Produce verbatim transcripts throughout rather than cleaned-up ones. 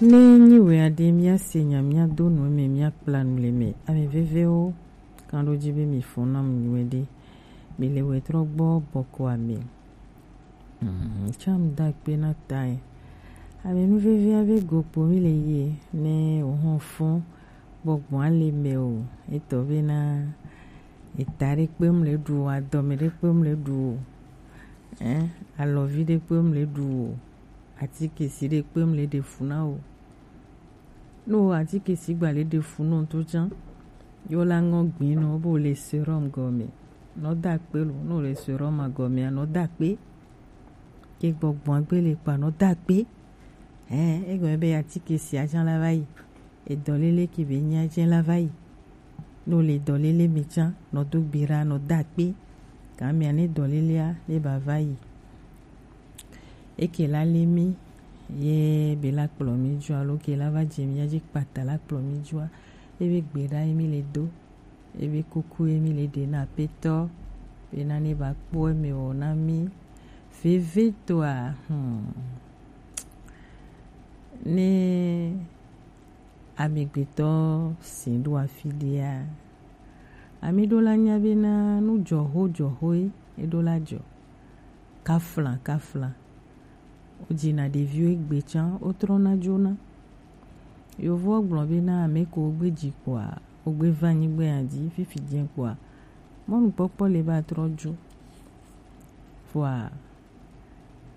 Ne nyi wɛ aɖe, míase nya, míado nu eme, míakpla nu le eme. Ame vevewo, kan ɖo dzi be mi fɔ nam nyuie ɖe. Mi le wɛ trɔ gbɔ bɔkɔ ame. Hmm, tsam da kpe na ta e. Ame nu vevia be gokpo mi le ye, ne o hɔn fɔ gbɔgbɔ ale me o. Etɔ be na eta ɖe kpe mu le ɖu o, adɔme ɖe kpe mu le ɖu o. Ɛ, alɔvi ɖe kpe mu le ɖu o. Atikesi ɖe kpe mu le ɖe fu na o. No atikesi gba le ɖe fu no to tsã. Yo la ŋɔ gbin no bo le serum gɔme. No da kpe lo, no le serum gɔme, no da kpe. Ke gbɔgbɔ gbe le kpa no da kpe. Ɛ, egɔme be atikesi atsã la va yi. Edɔlele ke be nya tsã la va yi. No le dɔlele mi tsã, no do gbe ra, no da kpe. Ka mi ane dɔlelea, ne ba va yi. Eke la le mi, ye be la kplɔ mi dzua, lo ke la va dze mi ya dzi kpata la kplɔ mi dzua, ebe gbe ɖa ye mi le do, ebe kuku ye mi le ɖe na Aƒetɔ, be na ne ba kpɔ eme wɔ na mi. Vevitɔa, hmm, ne amegbetɔ si ɖo afi ɖea, ame ɖo la nya be na nu dzɔho dzɔhoe, eɖo la dzɔ. Kafla, kafla. Wodzina ɖeviwo egbe tsã, wotrɔna dzona. Yovowo gblɔ be na ame ko wogbe dzi kpoa, wogbe va anyigba ya dzi, fifi dze kpoa, mɔnukpɔkpɔ le ba trɔ dzo. Vɔa,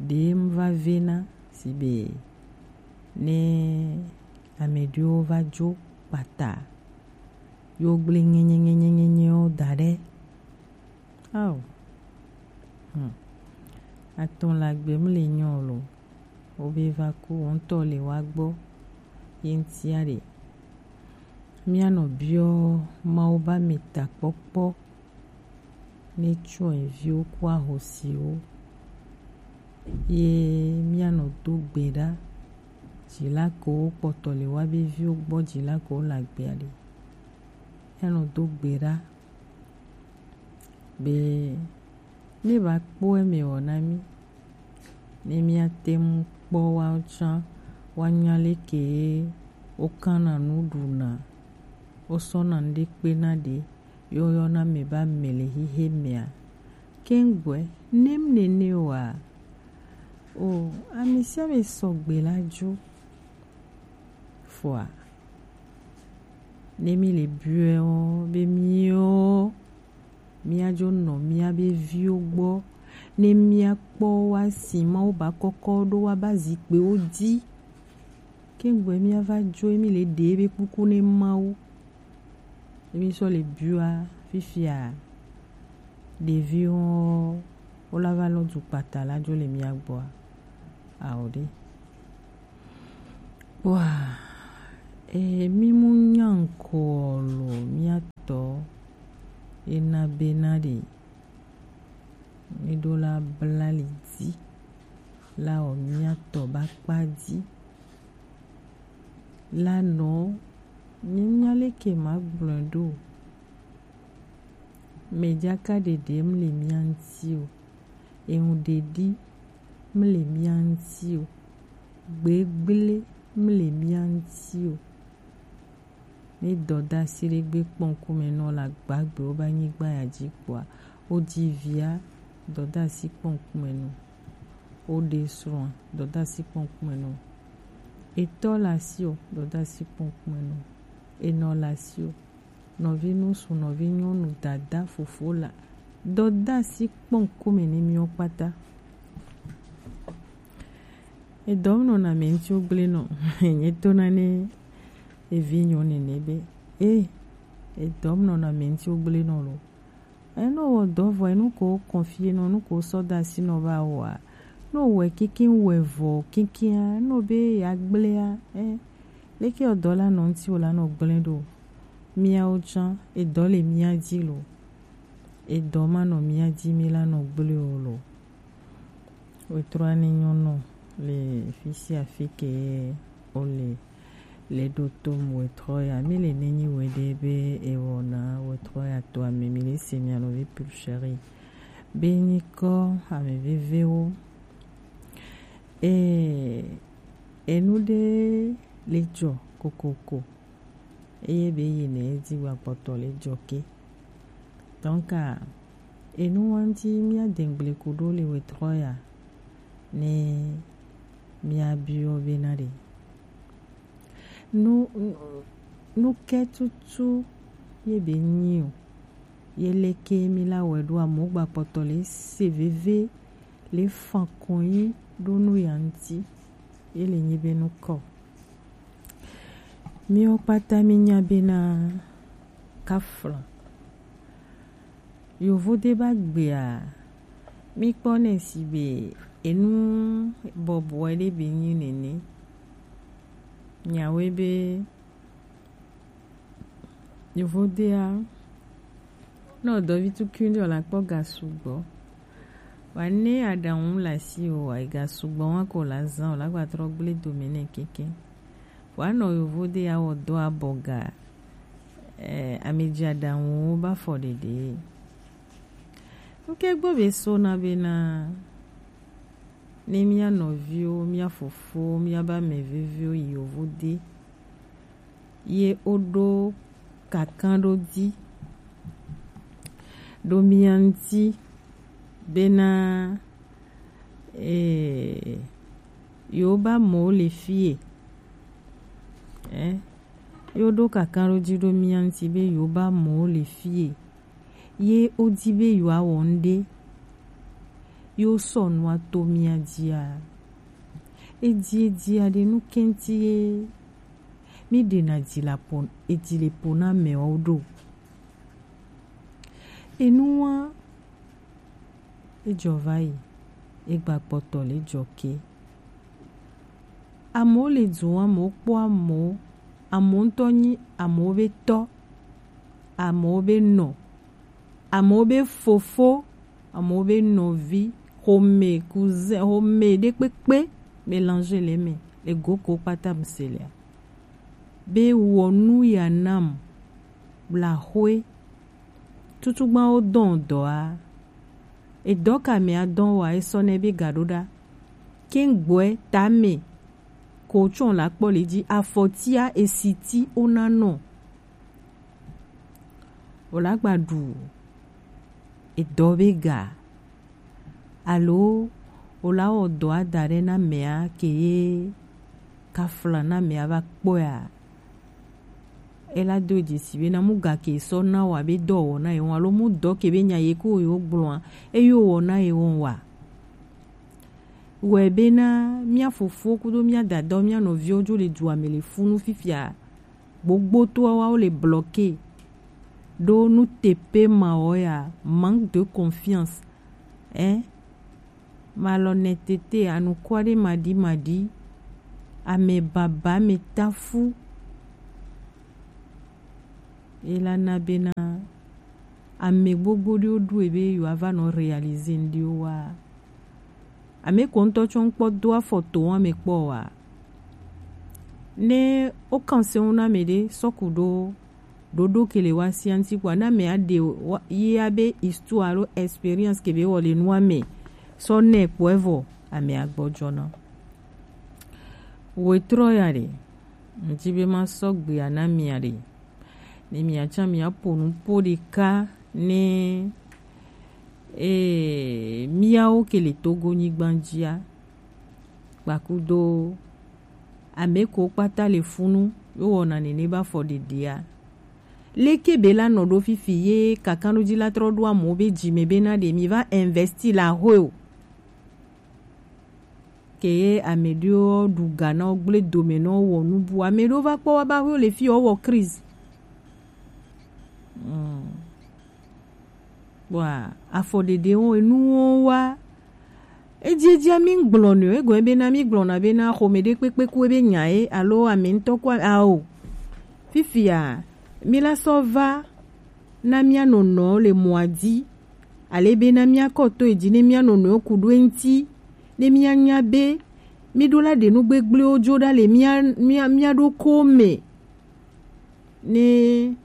ɖem va vena si be ne ame ɖewo va dzo kpata, yo gblẽ ŋenye, ŋenye, ŋenyewo da ɖe. Ao. Hmm. Atɔ̃ la gbe mle nyɔ lo. Wo be va ku, wo ŋutɔ le wa gbɔ. Ye ŋutia ɖe. Míanɔ biɔ Mawu be ame takpɔkpɔ ne tsɔ viwo ku ahosiwo. Ye míanɔ do gbe ɖa. Dzila kewo kpɔtɔ le wa be viwo gbɔ, dzila kewo le agbea ɖe. Míanɔ do gbe ɖa. Be ne ba kpɔ eme wɔ na mí, ne míate ŋu kpɔ woawo tsã, woanya leke ye wokana nu ɖuna, wosɔna nu ɖe kpena ɖe, ye woyɔna ame be ame le xexe mea. Keŋgbɔe, nem nene oa, o, ame sia ame sɔ gbe la dzo. Fɔa, ne mí le biɔe wo be míwo, míadzo nɔ mía be viwo gbɔ, ne míakpɔ woasi Mawu ba kɔkɔ ɖo woaba zikpuiwo dzi. Keŋgbɔe míava dzo ye mí le ɖe be kuku ne Mawu. Ne mí sɔ le biɔa fifia, ɖeviwo wo la va lɔ du kpata la dzo le mía gbɔa? Ao ɖe. Wa, e, mí mu nya ŋkɔ lo mía tɔ ena be na ɖe. Mí ɖo la bla li dzi la wɔ mía tɔ ba kpa dzi. La nɔ, mí nya leke ma gblɔe ɖo. Mɛjaka ɖeɖe mle mía ŋuti o. Eŋu ɖeɖi mle mía ŋuti o. Gbegble mle mía ŋuti o. Ne dɔdasi ɖe gbe kpɔ ŋkume nɔ le agbagbewo be anyigba ya dzi kpoa, wodzi via, dɔdasi kpɔ ŋkume nɔ. Woɖe srɔ̃a, dɔdasi kpɔ ŋkume nɔ. Etɔ le asi o, dɔdasi kpɔ ŋkume nɔ. Enɔ le asi o, nɔvi ŋutsu, nɔvi nyɔnu, dada, fofo la, dɔdasi kpɔ ŋkume ne míwo kpata. Edɔm nɔna ame ŋuti wogblẽ nɔ. Nye tona ne evi nyɔ nene be, e, edɔm nɔna ame ŋuti wogblẽ nɔ lo. Eno wɔ dɔ vɔ, enu ko kɔnfie nɔ, nu ko sɔ da asi nɔ ba wɔa. No wɛ kinkin wɛ vɔ kinkia, no be ya gblẽa, e, leke wɔ dɔ la nɔ ŋuti wo la nɔ gblẽ ɖo. Míawo tsã, edɔ le mía dzi lo. Edɔ ma nɔ mía dzi mí la nɔ gblẽ o lo. Wetrɔ ani nyɔnu le fisia fi ke ole le ɖo tom wetrɔ ya. Mi le nenyi we ɖe be ewɔna wetrɔ ya to ame mi le se mia nɔvi Pulchérie. Be nyikɔ ame vevewo. E, enu ɖe le jɔ kokoko. Eye be yi ne edi gba kpɔtɔ le jɔ ke. Donc, ah, enu wanti mia dengble kudo le wetrɔ ya ne mia biɔ be na ɖe. Nu, nu, nu ke tutu ye be nyi o. Ye leke mi la wɛ ɖo amo gba kpɔtɔ le se veve le fan konyi ɖo nu ya ŋuti. Ye le nyi be nu kɔ. Miwo kpata mi nya be na kafla. Yovo de ba gbea, mi kpɔ nɛ si be enu bɔbɔe ɖe be nyi nene. Nyawe be Yovode a, ne wòdɔ vi tukui ɖe wòle akpɔ ga sugbɔ. Vɔa ne aɖaŋu le asiwò oa, ega sugbɔ wa ko wòle azã, wòle agba trɔ gblẽ dome nɛ keke. Vɔa nɔ yovode ya wɔ dɔ abɔ ga, eh, amedzi aɖaŋuwo be afɔɖeɖe. Ŋke gbɔ be sona bena ne mía nɔviwo, mía fofowo, mía be ame veviwo yi yovode, ye woɖo kankan ɖo dzi, ɖo mía ŋuti bena, eh, yewo be amewo le fie, eh, ye woɖo kankan ɖo dzi ɖo mía ŋuti be yewo be amewo le fie, ye wodi be yewoawɔ nuɖe, ye wosɔ nua to mía dzia. Edi, edi aɖe nu kɛnti ye mí ɖena dzi le po, edzi le po na amewo ɖo. Enua, ejɔ va yi, egba kpɔtɔ le jɔ ke. Amewo le du, amewo kpɔ amewo, amewo ŋutɔ nyi amewo be tɔ, amewo be nɔ, amewo be fofo, amewo be nɔvi, xome, cousin, xome ɖe kpekpe, mélange le eme, le go ko kpata mu se lea. Be wɔ nu ya nam, bla xwe, tutugbawo dɔn dɔa, edɔ ka mɛ adɔn wa esɔ nɛ be ga ɖo ɖa. Kɛn gbɔɛ tame ko tsɔn la kpɔ le dzi afɔtia esiti ona nɔ. Wòle agba ɖu edɔ be ga alo wòle awɔ dɔ ada ɖe na mɛa ke ye kafla na mɛa va kpɔea. Ela do dzesi be na mu ga ke sɔ na wa be dɔ wɔ na ye wɔn alo mu dɔ ke be nya ye ko ye wo gblɔa eyo wɔ na ye wɔn wa. Wɔe bena mía fofo kudo mía dadawo, mía nɔviwo dzo le dua me le funu fifia. Gbogbotoawo le bloqué ɖo nuteƒe mawo ya, manque de confiance, eh, malhonnêteté, anukware maɖimaɖi, ame baba, ame tafu. Ye la na bena ame gbogbo ɖewo ɖoe be yewoava nɔ réaliser ŋɖewo wa. Ame ko ŋutɔ tsɔ ŋkpɔ do afɔ to ame kpɔ wa. Ne wo kan se ŋu na ame ɖe sɔku ɖo ɖoɖo ke le wa sia ŋuti kpɔa, na ame aɖe wa, ye abe histoire alo expérience ke be wɔ le nua me sɔ nɛ kpɔe vɔ ame agbɔdzɔ na. Wetrɔ ya ɖe, ŋdi be ma sɔ gbea na mia ɖe. Ne mia tsã mia ƒo nu ƒo ɖeka ne, eh, miawo ke le Togo nyigba dzia, kpakudo ame ko kpata le funu, yo wɔna nene be afɔɖeɖea. Leke be la nɔ ɖo fifi ye kakanɖodzi la trɔ ɖo amewo be dzi me bena ɖe mi va investir la hoe o. Ke ye ame ɖewo ɖu ga na wo gblẽ dome na wo wɔ nu bu. Ame ɖewo va kpɔ wa ba wo le fi wo wɔ crise. Hmm. Kpɔa, afɔɖeɖe wo, enuwo wa. Edziedzia mi gblɔ nɛ o, egɔme bena mi gblɔna bena xɔme ɖe kpekpe ku ebe nya ye, alo ame ŋutɔ ku a-, ao. Fifia, mi la sɔ va na mia nɔnɔwo le mɔa dzi, ale bena mia kɔ to edzi ne mia nɔnɔwo ku ɖo eŋuti, ne mia nya be mi ɖo la ɖe nu gbegblẽwo dzo ɖa le mia, mia, mia ɖokuiwo me. Ne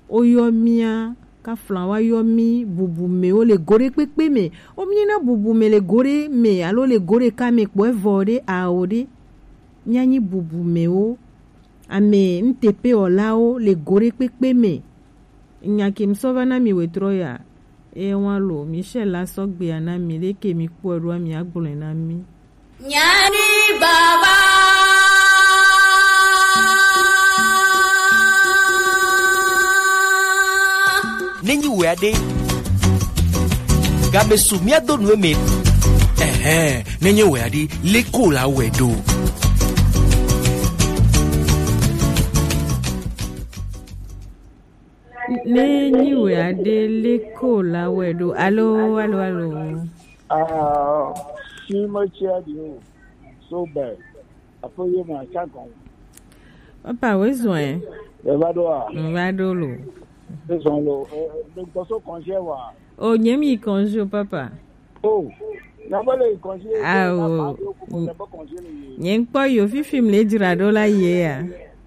woyɔ mía kafla wa yɔ mí bubumewo le go ɖe kpekpe me. Wo mí nyina bubume le go ɖe me alo le go ɖeka me kpɔ evɔ ɖe ao ɖe. Mía nyi bubumewo Ame nuteƒewɔlawo le go ɖe kpekpe me. Nya ke mi sɔ va na mi wetrɔ ya. Eye wa lo, Michel la sɔ gbea na mi, ɖe ke mi kpɔe ɖoa, mi agblɔe na mi. Nyani baba. Nenyi wea ɖe, gabe su mía do nu eme. Ɛhɛn, nenye wea ɖe, leko la wɛ ɖo. Ne nyi wɛ aɖe leko la wɛ ɖo. Alo, alo, alo. Ah, si me tsia di o. So bad. Aƒe ye me atsa gɔn. Papa, we zɔn ɛ? E va ɖo a? N va ɖo lo. E zɔn lo. E, e, gbɔsɔ kɔnjɛ wa. O, nye mi kɔnjɛ o, papa. Oh, na mele yi kɔnji. Awo. Nye ŋkpɔ yo fifi mle dzra ɖo la ye ya.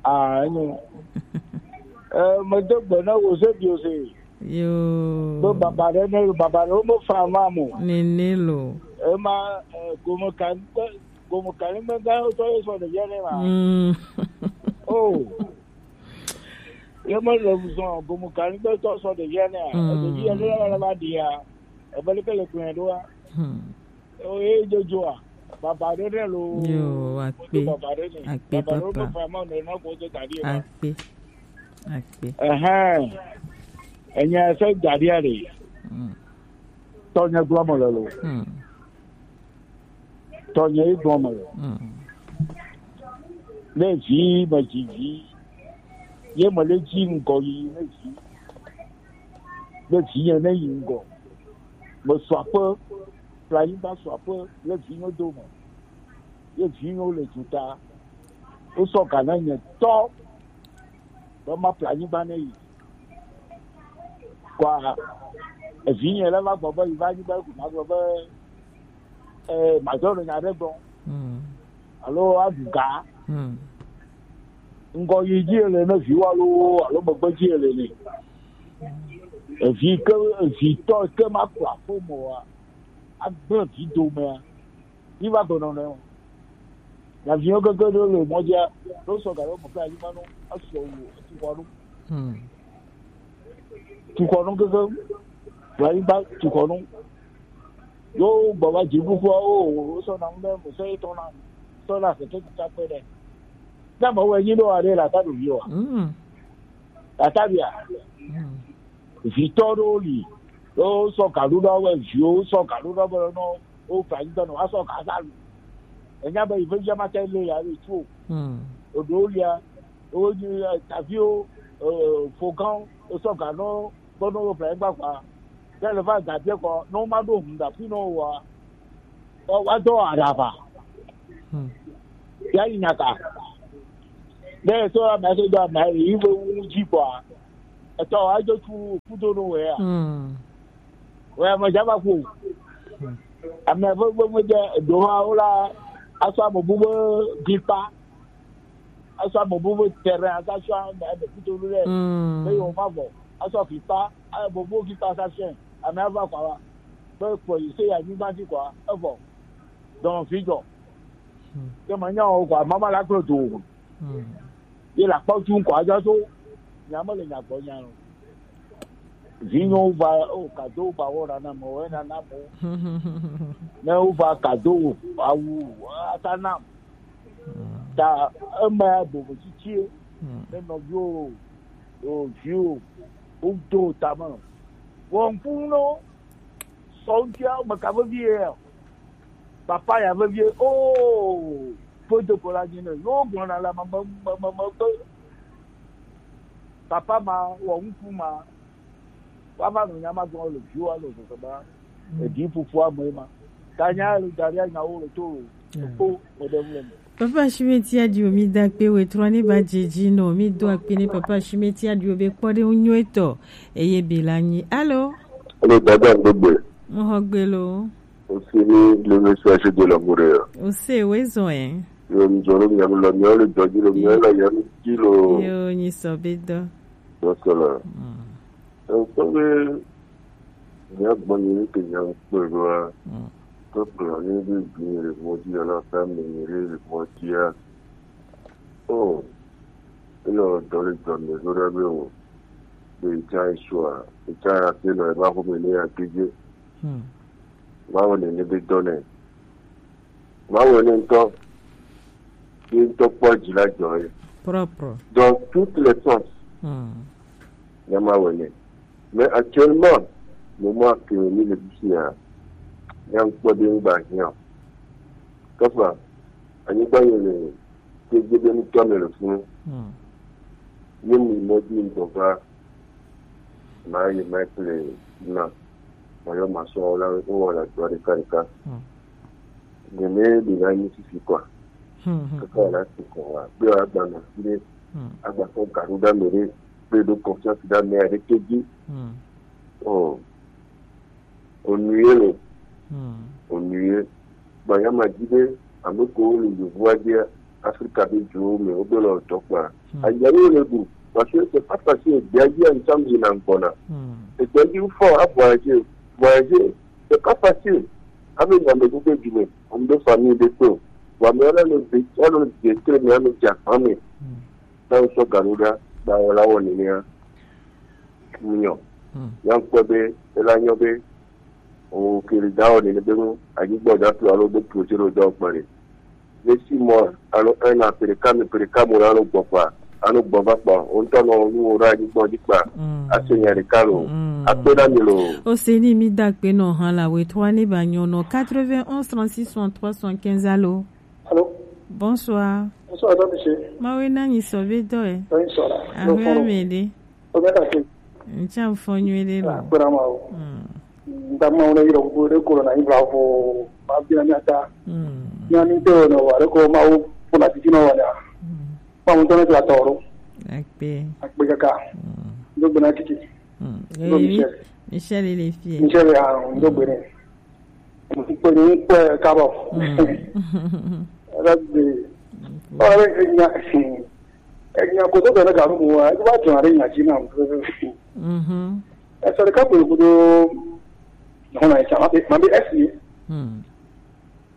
Ah, enyo. Eh, medo gbe na wo se bi o se. Yo. Be baba ɖe ne baba ɖe wo me fa ma mo. Nene lo. Ema, eh, gome kan gome kan me ga to ye so de ye ne ma. Mm. Oh. Ye me le zɔn gome kan me to so de ye ne. Mm. De ye ne la la ba dia. Ebe leke le gblɔe ɖoa? Hmm. Eye dzodzoa, baba ɖe ɖe lo. Yo, akpe. Baba ɖe ne. Akpe, baba ɖe papa. Fa ma ne na ko de tadi ma. Akpe. Akpe. Ɛhɛn. Enya se gadia le. Hmm. Tɔnye gblɔ me le lo. Hmm. Tɔnye yi gblɔ me le. Hmm. Ne vi me dzi vi. Ye me le dzi ŋgɔ yi ne vi. Ne vi ye ne yi ŋgɔ. Mesu aƒe, ƒle anyigba su aƒe le vinyewo dome. Ye vinyewo le duta. Wosɔ ga na nye tɔ be maƒle anyigba ne yi. Kɔa, evinye le va gbɔ be yi va anyigba ko magblɔ be, eh, madzɔ le nya ɖe gblɔ. Mm. Alo aɖu ga. Mm. Ŋgɔ yi dzi ele ne viwo alo, alo megbe dzi ele ne. Evi ke, evitɔ ke ma kplɔ aƒe me oa, agblẽ vi domea, yi va gbenɔ nɛ o. Nyaviwo gege ɖewo le mɔ dzia, ɖo sɔ ga ɖewo me kple anyigba nɔ, esɔ wu, etu xɔ nɔ. Hmm. Tu xɔ nɔ gege, le anyigba tu xɔ nɔ. Yo gbɔ va dzi kuku o, o sɔ na ŋu ɖe, mo sɔ etɔ na, sɔ na sɛ tɛ tuta kpe ɖe. Ne me wɔ nyi ɖo aɖe la ta ɖo vi wa. Hmm. La ta bia. Hmm. Vitɔ ɖewo li, wo sɔ gaɖuɖɔ wɛ viwo, wo sɔ gaɖuɖɔ be nɔ wo fa yi dɔnɔ, wa sɔ ga sa lu. Enya be yi vevia ma tɛ le ya le tu o. Hmm. Oɖewo lia, wo nyi, eh, taviwo, eh, fogan, wo sɔ ga nɔ gbɔnɔ wo ƒle gba kpa. Ke le va ga bia kɔ, nɔ ma ɖo hun da fi nɔ wa. Wa dɔ aɖaba. Hmm. Ya yi nyaka. Ne so ame so do ame yi be wu dzi kɔa. Etɔ wa dzo tu kudo no wea. Hmm. Wea me dza va ku. Hmm. Ame be be me de do ha wo la aso ame bu be gikpa. Aso ame bu be terrain asa sua ame de kudo no le. Hmm. Be yo ma vɔ. Aso gikpa, ame bu gikpa sa sua. Ame ava kwa wa. Be kpɔ yi se ya nyigba dzi kɔa, evɔ. Dɔn fi jɔ. Hmm. Ke ma nya o kɔa, mama la klo do. Hmm. Ye la kpɔ tu kɔa, ja so. Nya me le nya gbɔ nya lo. Vinyo va, o kado ba wɔ na na mo, wɔ na na mo. Ne o va kado awu, ata na. Hmm. Ta ema ya bobo tsitsi. Hmm. Ne nɔviwo, o viwo, o do tame. Wɔn kun no. Sɔ ŋutia, meka vevie ya. Papa ya vevie, oh, foto ko la dzi ne. Yo gblɔna le me, me, me, me, me be, papa ma, wɔ ŋku ma, woava nɔ nya ma gblɔ le viwo alo zɔzɔ ma. Mm. Edi fufua me ma. Ta nya le da ɖe nyawo le to lo. Mm. Kpɔ, me ɖe ŋu le me. Papa Shimeti Adio, mi da kpe we trɔ ne ba dzi dzi nɔ, mi do akpe ne Papa Shimeti Adio be kpɔ ɖe ŋu nyuie tɔ, eye be la nyi. Alo? Alo, dada gbegbe. Mo xɔ gbe lo. O si ni le me sa se de la mure. O se we zɔn ɛ. Yo, mi zɔn lo mi lo mi le dɔ dzi lo, mi la ya mi dzi lo. Yo, nyi sɔ be dɔ. Dɔ sɔ la. Mm. Ŋkpɔ be míagbɔ nyi nu ke nya ŋkpɔe ɖoa, mm, ke gblɔ nɛ be vi le mɔ dzi alo ƒe ame nyui ɖe le mɔ dzia, o, Elo dɔ le dɔ me zo ɖe be o. Be etsa esua, etsa ya te nɔ eva xɔme ne ya te dze. Hmm. Mawu nene be dɔ nɛ. Mawu ne ŋutɔ, ye ŋutɔ kpɔ dzi la dzɔ ye. Propre. Dans toutes les sens. Hmm. Ne mawu ne. Mais actuellement, moment que mi le fifia, ya ŋkpɔ ɖe ŋgba hiã. Kɔfɛ, anyigba yi le ke gbe be ŋutɔ me le funu. Hmm. Ye mi mɔ di ŋdɔ va, ma yi ma kple na, ma yɔ ma sɔ la, wo wɔ la dɔ ɖeka ɖeka. Hmm. Nene ɖe la nyi fifi kɔa. Hmm, hmm, kaka la ti kɔ wa, be wa gba na fi ɖe, hmm, agba kɔ gaɖo ɖa me ɖe, be ɖo confiance ɖa me aɖe ke dzi. Hmm. Oh. Ennuyé lo. Hmm. Ennuyé. Gbanyama di be ame kewo le yevua dzia, Afrika be duwo me wobe le dɔ kpa. Hmm. Aya ye le ɖu. Parce que c'est pas facile. Dia dzi ensemble yina gbɔna. Hmm. Egbea dzi fɔ a voyager. Voyager, c'est pas facile. Ame nya me gbogbo du me. Ame be famille de kpe. Wa me ala le de, ala le de kpe me ame dza kpa me. Hmm. Na sɔ gaɖo ɖa, ba wɔ la wɔ nenea. Nyɔ. Hmm. Ya ŋkpɔ be ela nyɔ be o kele da wɔ nene be nu anyigba da tu alo be tu tse ɖo dɔ kpɔ ɖe. Ne si mɔ alo ena pere kame pere kamo la alo gbɔ kpa alo gbɔ va kpɔ o ŋutɔ nɔ nu wo ɖe anyigba dzi kpa. Hmm. Ase nya ɖeka lo. Hmm. Akpe na mi lo. O se ni mi da akpe nɔ hã la we trois ne ba nyɔ nɔ quatre-vingt-onze trente-six soixante-trois soixante-quinze alo. Allô? Bonsoir. Bonsoir, Docteur Michel. Mawe na nyi sɔ be dɔ e. Oui, ça va. Ahwe ame de. O bɛ ka se. Ncha mfɔ nyuie de lo. Ah, kpɛrɛ ma o. Hmm. N ta ma wona yɔrɔ ko de corona yi bla fo. Ma bi na mi ata. Hmm. Ni ani te no wa ko ma o ko na titi no wa na. Hmm. Ma mo to ne la toro. Akpe. Akpe kaka. Hmm. Ndo gbena titi. Hmm. Ndo eh, Michel. Michel, il est fier. Michel, ah, ndo gbene. Kpɛni kpɛ kabɔ. Mm. Ɛlɛ bi. Ɔlɛ enya enya koto bɛ ne garu mu wa. Ɛdi wa jɔn ale nya ji na mu. Mhm. Ɛsɛ de ka kpɛ kodo. Hɔn na ɛsɛ ma bi ma bi ɛsi. Mm.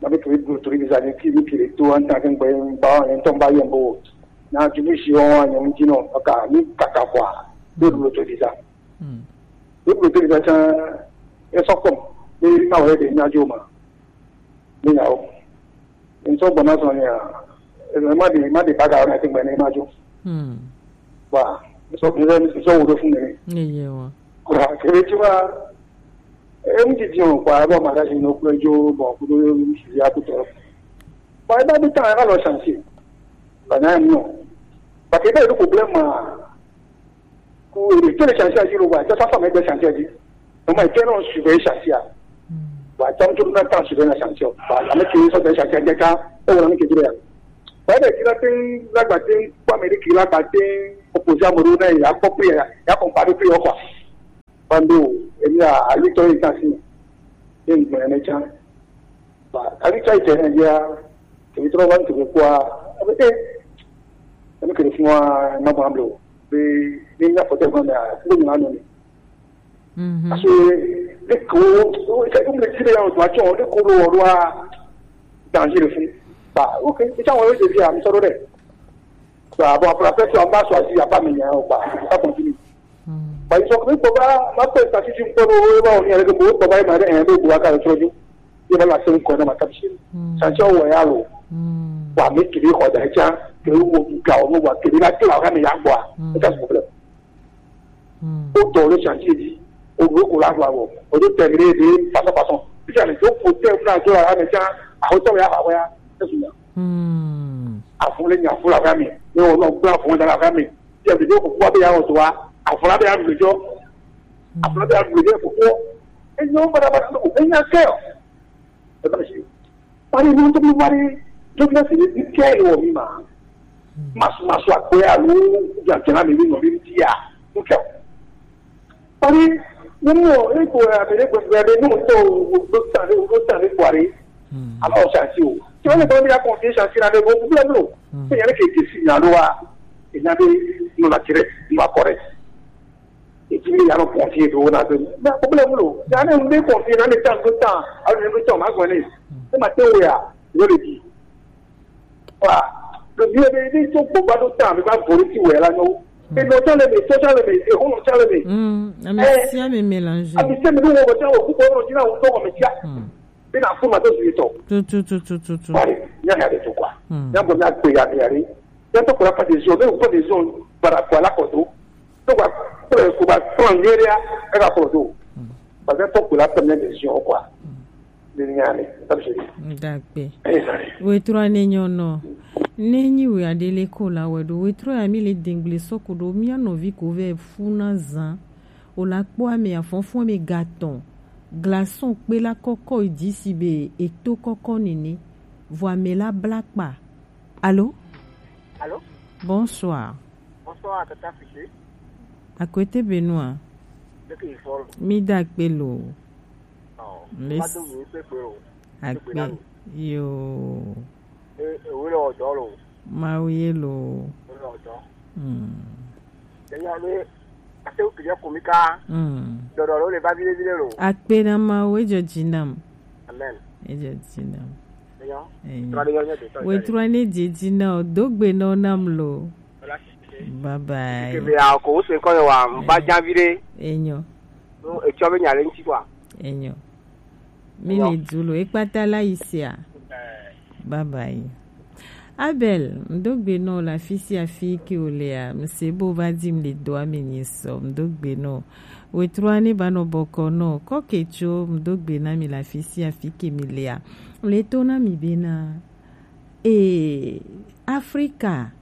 Ma bi tori tori bi zani ki mi kiri to an ta kɛ n gbɛ ba an tɔn ba yɛn bo. Na jugu si wɔn an yɛn mu ji nɔ ka ni kaka kwa. Bi dulo to di sa. Hmm. Wo kple tele tsã esɔ kpɔm be na wòle ɖe nya dzo ma. Ne nya wo. Ŋsɔ gbɔna sɔ nya. Ema de ma de baga na te gbɛne ma dzo. Hmm. Wa. Ŋsɔ ŋsɔ ŋsɔ wo do fun ne. Ne ye wa. Kura kebe tsi wa. E ŋti di o kwa ba ma da si no kple dzo bɔ kudo si ya kutɔ. Ba da bi ta na lo chantier. Ba na mo. Ba ke ba le problème. Ko ere to le chantier a dzi lo wa, dza fa fa me gbe chantier a dzi. No ma ke no suivre chantier a. Wa tam to na tan suivre na chantier. Wa la me ke so de chantier de ka, o la me ke dire ya. Wa de kila tin la gba tin kwa me de kila gba tin opposé a mo na ya ko pe ya, ya ko pa pe yo kwa. Pando, e mi a ali to yi kasi. Tin mo ne chan. Ba, kali tsa ite ne dia, ke mi trɔ va ŋutsu kua, ebe, eh, ebe ke ɖe fua, ma gba blo, be, ne nya fɔte gɔme a, ŋgbe nya nɔ ne. Mhm. Parce que, ne ko, o, ika ŋgbe ti be ya o dua tsɔ, ne ko lo wa, danger le fou. Ba, ok, ika wa yo de dia, mi sɔrɔ de. Ba, bon, après, après, tu as pas choisi, il y a pas meilleur, quoi. Ça continue. Hmm. Ba, ils sont venus pour voir, ma pe sa si tu peux, ba, on y a le bon, ba, il m'a dit, un peu, boire, car le trop. Il va la faire une connerie, ma tape chez lui. Hmm. Ça, tu vois, ya lo. Hmm. Wa, mais tu dis, quoi, dans le chat, que vous, vous, vous, vous, que la, tu la, mais ya, quoi. Hmm. C'est ça le problème. Hmm. Autant le chantier dit, au gros, qu'on la voit, bon. On doit terminer de façon, façon. Puis, il y a les autres côtés, on a, on a, on a, on a, on a, on a, Hmm. Afun le nya fun la va mi. Ne o no gba fun da la va mi. Ti a bi do ko wa be ya o to wa. Afun la be ya lu jo. Afun la be ya lu jo ko ko. E nyo ba da ba ko. E nya ke o. E ba si. Pari no to mi pari. Jo na si ni ke o mi ma. Mas mas wa ko ya lu. Ja ke na mi no mi ti ya. Ko ke. Pari, nínú ipò àbẹ̀rẹ̀ gbẹ̀gbẹ̀ rẹ̀ nínú tó gbogbo sáré gbogbo sáré buhari. Hmm. Àmọ́ ọ̀sẹ̀ àti o tí wọ́n lè gbọ́ bí akọ̀ fi ṣàṣì rà lẹ́gbẹ̀ẹ́ òkú bílẹ̀ lò. Hmm. Ṣé yẹn kì í ti sì yàn ló wa? Ìyá bí nù láti rẹ̀ nù akọ rẹ̀. Ètí mi yàrá kàn fi èdè owó náà tó ní àkókò lẹ́mú lò. Yàrá ń gbé kàn fi náà lè tàn tó tàn àwọn ènìyàn tó tàn má gbọ́n ní. Ṣé màá tẹ́ wẹ̀ à? Yóò lè di. Wa, Le vieux de ni to gbogbo do ta mi ba vori ti we la no. E no ta le me, to ta le me, e ho no ta le me. Mm, ami Eh. si ami mélange. Ami se mi no wo ta wo ku ko no jina wo to ko me tia. Mm. Bi na fu ma to si to. Tu tu tu tu tu tu. Bari, nya ya de to kwa. Mm. Ya bo na pe ya ya ri. Ya to kura pa de zo, de pa de zo para kwa la ko do. To kwa ko ko ba ton yeria e ka ko do. Ba to kura pa ne de zo kwa. Dagbe. Wetrɔ ne nyɔ nɔ. Ne nyi we aɖe le ko la wɛ ɖo. Wetrɔ ya mi le dengble sɔku ɖo mia nɔvi ko vɛ funa zan. O la kpɔ ame afɔfɔ ame gatɔn. Glaçon kpe la kɔkɔ yi dzi si be eto kɔkɔ nene. Vɔ ame la bla kpa. Alo? Alo? Bonsoir. Bonsoir, tata Fifi. Akwete Benoit. Leke yi fɔ lo? Mi da kpe lo. Ɔ, Mes- ma do mi kpe kpe lo. Akpe. Yo. E, e, wo le ɔdɔ lo. Mawu ye lo. Wo le ɔdɔ. Hmm. Eya le, ate wo kije ko mi ka. Hmm. Dɔdɔ lo le ba vile vile lo. Akpe na Mawu, ejɔ dzi nam. Amen. Ejɔ dzi nam. Eya. Eya. Tra de yo nye de. Wetrɔ ne dzi dzi na o, dogbe nɔ nam lo. Bye bye. Ke be a ko wo se ko yo wa, mba janvi de. Enyo. No, e cho be nya le nti kwa. Enyo. Mi le du lo, ekpata la isia. Bye bye. Abel, mdogbe nɔ la fisi afi ke o lea, mse bo va di mle do ame nyi so, mdogbe nɔ. Wetrɔ ne ba nɔ bɔkɔ nɔ, kɔ ke tso, mdogbe na mi la fisi afi ke mi lea. Le to na mi be na, e, Afrika,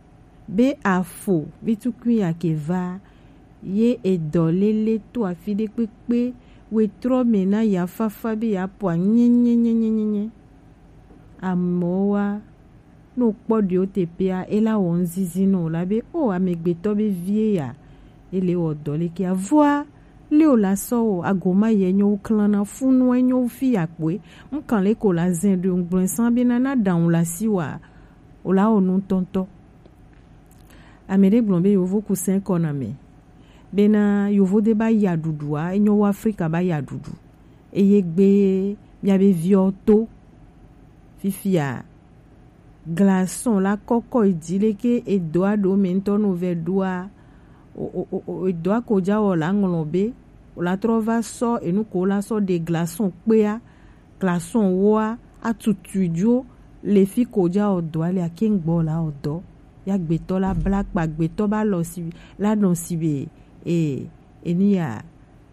be afo, bi tukui ya ke va, ye edɔ lele to afi ɖe kpekpe, wetrɔ me na ya fafa be ya pɔa nye, nye, nye. Amewo wa, no kpɔ ɖewo teƒea, ela wɔ ŋzizi nɔ o la be, o amegbetɔ be vie ya, ele wɔ dɔ le ke avɔa, le o la sɔ o, agoma ye nyo klan na funu e nyo fi ya kpoe, ŋkan le ko la zɛn ɖo ŋgblɔe san be na na ɖaŋu la si wa, o la wɔ nu tɔntɔ. Ame ɖe gblɔ be yovo kusɛn kɔ na me. Bena yovo de ba ya ɖuɖua, enyo wo Afrika ba ya ɖuɖu. Eye gbe miabe viɔ to. Fifia, glaçon la kɔkɔ yi dzi leke edoa ɖo me ŋutɔ no vɛ ɖoa, o, o, o, o, edoa ko dza wɔ la ŋlɔ be, o la trɔ va sɔ enu ko la sɔ ɖe glaçon kpea, glaçon woa, atutui dzo le fi ko dza wɔ dɔa le akeŋgbɔ la wɔ dɔ. Ya gbetɔ la bla kpa, gbetɔ ba lɔ si la nɔ si be, e, enu ya,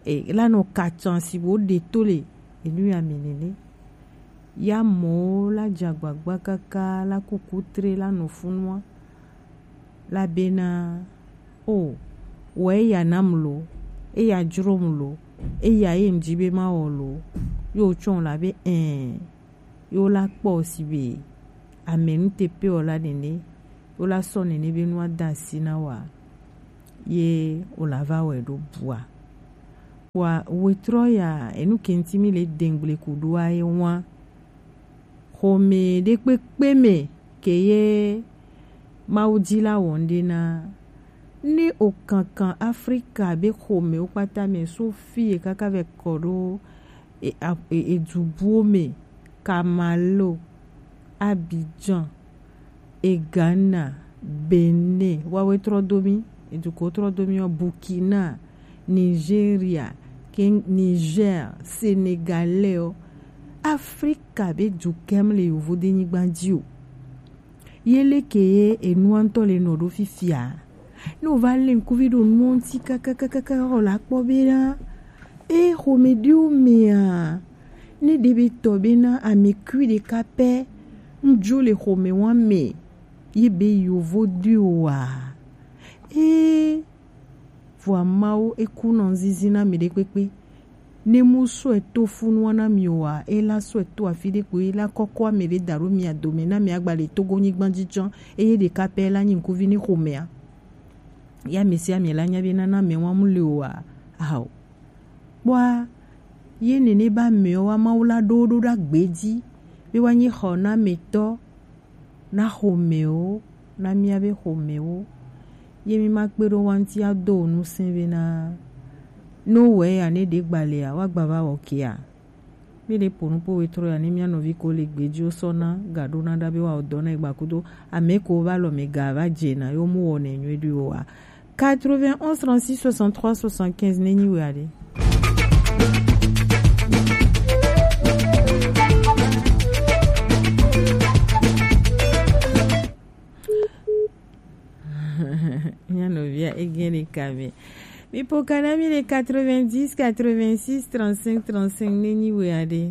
e, la nɔ katsan si bo ɖe to le enu ya me nene. Ya mɔwo la dze agbagba kaka la kuku tre la nɔ funua. La bena, o, wɔ eya nam lo, eya dzrom lo, eya ye ŋdzi be mawɔ lo. Yo tsɔ la be, ɛ, yo la kpɔ si be ame nu te pe o la nene, yo la sɔ nene be nua da asi na wa, ye o la va wɛ ɖo bua. Wa wetrɔ ya, enu ke ŋti mi le dengble ku ɖoa ye wa. Xɔme ɖe kpekpe me ke ye Mawu dzi la wɔ ŋɖe na. Ne o kankan Afrika be xɔmewo kpata me so fi ye kaka vɛ kɔ ɖo e, a, e, e dubuwo me, Kamalo, Abidjan, e Ghana, Benin, wawe trɔ do mi, e duko trɔ do mi ɔ, Burkina, Nigeria, ke Niger, Senegalais ɔ, Afrika be dukɛm le yovo de nyigba dzi o. Ye leke ye enua ŋutɔ le nɔ ɖo fifia? Ne wova lé ŋkuvi ɖo nuɔ ŋuti kakakakaka xɔ la kpɔ be na e xɔme ɖewo mea, ne ɖe be tɔ be na ame kui ɖeka pɛ ŋdzo le xɔme wa me ye be yovo ɖewoa? Ee, Vɔa Mawu eku nɔ zizi na mi ɖe kpekpe. Ne mu sɔe to funua na mi oa, e la sɔe to afi ɖe kpo, e la kɔkɔ ame ɖe da ɖo mia dome na mi agba le Togo nyigba dzi tsã, eye ɖeka pɛ la nyi ŋkuvi ne xomea. Ya mi sia mi la nya be nana mɛ wa mu le oa, ao. Kpɔa, ye nene ba mɛwo wa Mawu la ɖo ɖo ɖa gbe dzi, be wa nyi xɔ na mɛtɔ, na xɔmɛwo, na mía be xɔmɛwo. Ye mi ma kpe ɖo wa ŋuti ado wo ŋusẽ be na, ne wowɔe ya ne ɖe gbalea, woagba va wɔ kea. Mi le po nu po we tro ya ne mia nɔvi ko le gbeji o sɔ na ga ɖo na ɖa be wa o dɔ na egba kudo ame ko va lɔ me ga va je na yo mu wɔ ne nyuie ɖo wa. Quatre-vingt-onze trente-six soixante-trois soixante-quinze ne nyi we aɖe. Mia nɔvia egɛn ɖeka me. Mi po kana mi le quatre-vingt-dix quatre-vingt-six trente-cinq trente-cinq ne nyi we aɖe.